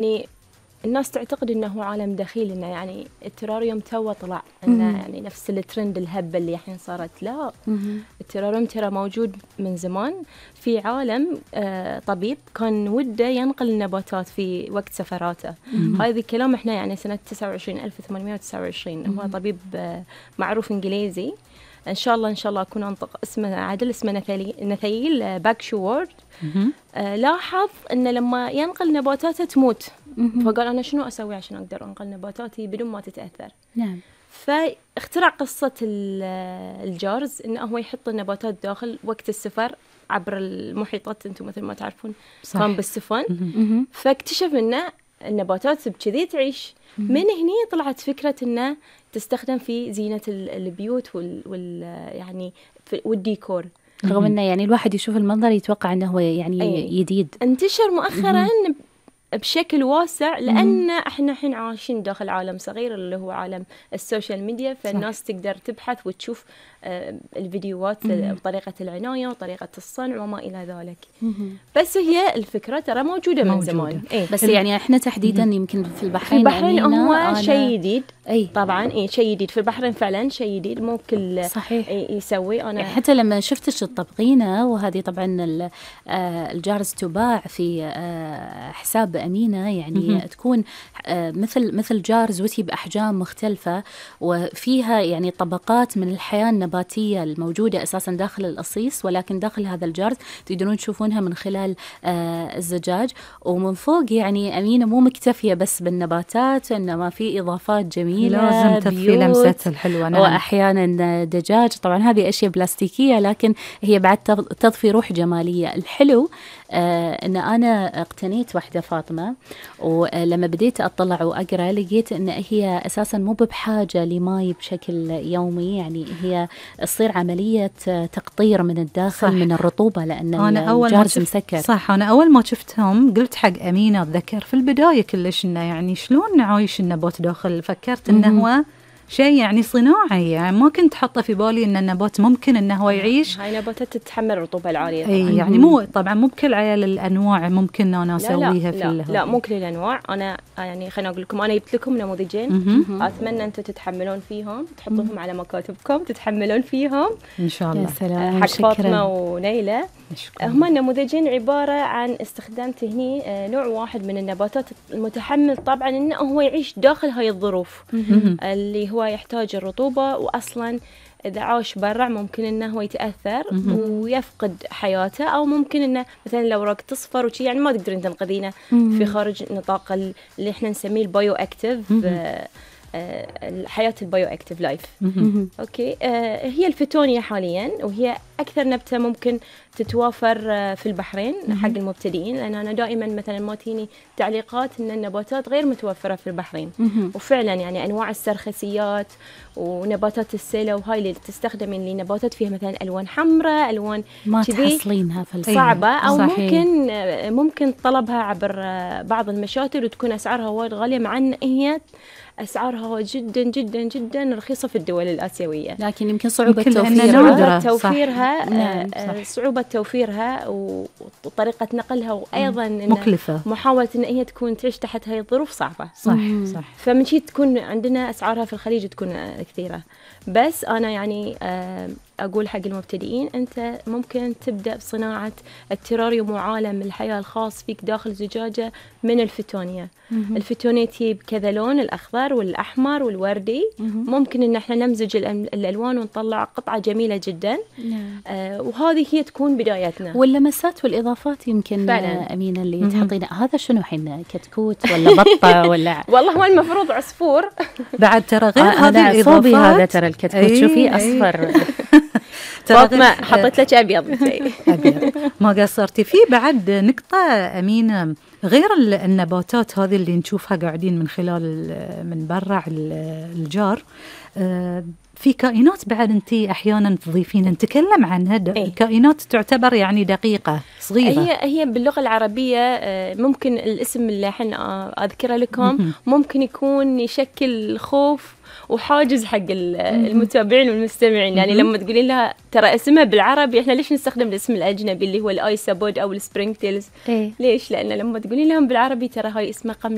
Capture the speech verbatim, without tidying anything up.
يعني الناس تعتقد إنه عالم دخيل، إنه يعني التراريوم تو طلع، إنه يعني نفس الترند الهبة اللي الحين صارت. لا، التراريوم ترى موجود من زمان. في عالم آه طبيب كان وده ينقل النباتات في وقت سفراته. هذا الكلام إحنا يعني سنة تسعة وعشرين ألف وثمانمائة وتسعة وعشرين. هو طبيب آه معروف إنجليزي. إن شاء الله إن شاء الله أكون أنطق اسمه عدل، اسمه نثيل نثيل آه باكشوورد. آه لاحظ إنه لما ينقل نباتاته تموت، فقال أنا شنو أسوي عشان أقدر أنقل نباتاتي بدون ما تتأثر. نعم. فاخترع قصة الجارز، إنه هو يحط النباتات داخل وقت السفر عبر المحيطات. أنتم مثل ما تعرفون صح. كان بالسفن. فاكتشف إنه النباتات بكذي تعيش. من هنا طلعت فكرة إنه تستخدم في زينة البيوت وال, وال يعني والديكور. رغم إنه يعني الواحد يشوف المنظر يتوقع إنه هو يعني أي. جديد. انتشر مؤخرا بشكل واسع، لأن احنا الحين عايشين داخل عالم صغير اللي هو عالم السوشيال ميديا. فالناس صح. تقدر تبحث وتشوف آه الفيديوهات وطريقة العناية وطريقة الصنع وما إلى ذلك. مم. بس هي الفكرة ترى موجودة, موجودة. من زمان. إيه؟ بس يعني احنا تحديدا مم. يمكن في البحرين. في البحرين هو أنا... شيء جديد. أي. طبعا إيه شيء جديد في البحرين فعلا، شيء جديد مو كل صحيح. يسوي. أنا يعني حتى لما شفتش التطبقينة، وهذه طبعا الجارز تباع في حساب أمينة، يعني مم. تكون مثل مثل جارز وتي بأحجام مختلفة، وفيها يعني طبقات من الحياة النباتية الموجودة أساسا داخل القصيص، ولكن داخل هذا الجارز تقدرون تشوفونها من خلال الزجاج. ومن فوق يعني أمينة مو مكتفية بس بالنباتات، إنما في إضافات جميلة، لازم تضفي لمستها الحلوة. نعم. وأحيانا دجاج. طبعا هذه أشياء بلاستيكية، لكن هي بعد تضفي روح جمالية. الحلو آه إن أنا اقتنيت واحدة فاطمة، ولما بديت أطلع وأقرأ لقيت إن هي أساسا مو بحاجة لماء بشكل يومي، يعني هي تصير عملية تقطير من الداخل صح. من الرطوبة، لأن الجارز مسكر. صح. أنا أول ما شفتهم قلت حق أمينة أتذكر في البداية كلش إنه يعني شلون نعايش النبات داخل، فكرت إنه هو شيء يعني صناعي، يعني ما كنت حاطة في بالي إن النبات ممكن إنه هو يعيش. هاي نباتات تتحمل الرطوبة العالية. أي يعني مو طبعا مو بكل عيال الأنواع ممكن أنا أسويها لا في لا, لا, لا مو كل الأنواع. أنا يعني خليني أقول لكم، أنا جبت لكم نموذجين، أتمنى أنتم تتحملون فيهم، تحطوهم على مكاتبكم، تتحملون فيهم إن شاء الله. حق فاطمة ونيلة. هما النموذجين عبارة عن استخدام تهني نوع واحد من النباتات المتحمل طبعا إنه هو يعيش داخل هاي الظروف اللي هو يحتاج الرطوبة، وأصلا إذا عاش برا ممكن إنه هو يتأثر ويفقد حياته، أو ممكن إنه مثلا الأوراق تصفر وشي، يعني ما تقدرين تنقذينه في خارج نطاق اللي إحنا نسميه البايو أكتيف، الحياة البايو أكتيف لايف. أوكي. آه هي الفتونيا حاليا، وهي أكثر نبتة ممكن تتوافر في البحرين حق المبتدئين، لأن أنا دائما مثلا ما تيني تعليقات إن النباتات غير متوفرة في البحرين. وفعلا يعني أنواع السرخسيات ونباتات السيلة وهاي اللي تستخدمين لي نباتات فيها مثلا ألوان حمراء، ألوان ما تحصلينها في صعبة، أو صحيح. ممكن ممكن طلبها عبر بعض المشاتل وتكون أسعارها وايد غالية، مع أن هي أسعارها جدا جدا جدا رخيصة في الدول الآسيوية، لكن يمكن صعوبة توفيرها توفيرها نعم صعوبة توفيرها وطريقة نقلها، وأيضا مكلفة، محاولة إن هي تكون تعيش تحت هاي الظروف صعبة. صح صح. فمن شي تكون عندنا أسعارها في الخليج تكون كثيرة. بس أنا يعني أقول حق المبتدئين، أنت ممكن تبدأ بصناعة التراريوم وعالم الحياة الخاص فيك داخل زجاجة من الفتونيا. الفتونيا تجيب كذا لون، الأخضر والأحمر والوردي. ممكن إن احنا نمزج الألوان ونطلع قطعة جميلة جدا. آه وهذه هي تكون بدايتنا. واللمسات والإضافات يمكن فعلا. أمينة اللي تحطينا هذا شنو حين كتكوت ولا بطة ولا والله هو المفروض عصفور بعد ترى غير هذه الإضافات. هذا ترى الكتكوت أي شوفي أصفر فاطمة حطيت لك أبيض. أبيض ما قصرتي فيه. بعد نقطة أمينة، غير النباتات هذه اللي نشوفها قاعدين من خلال من برا الجار، في كائنات بعد أنت أحيانا تضيفين نتكلم عنها إيه؟ كائنات تعتبر يعني دقيقة صغيرة. هي هي باللغة العربية ممكن الاسم اللي الحين أذكره لكم ممكن يكون يشكل خوف وحاجز حق المتابعين والمستمعين. يعني لما تقولين لها ترى اسمها بالعربي، احنا ليش نستخدم الاسم الأجنبي اللي هو الآيسابود أو السبرينغ تيلز؟ إيه؟ ليش؟ لأن لما تقولين لهم بالعربي ترى هاي اسمها قمل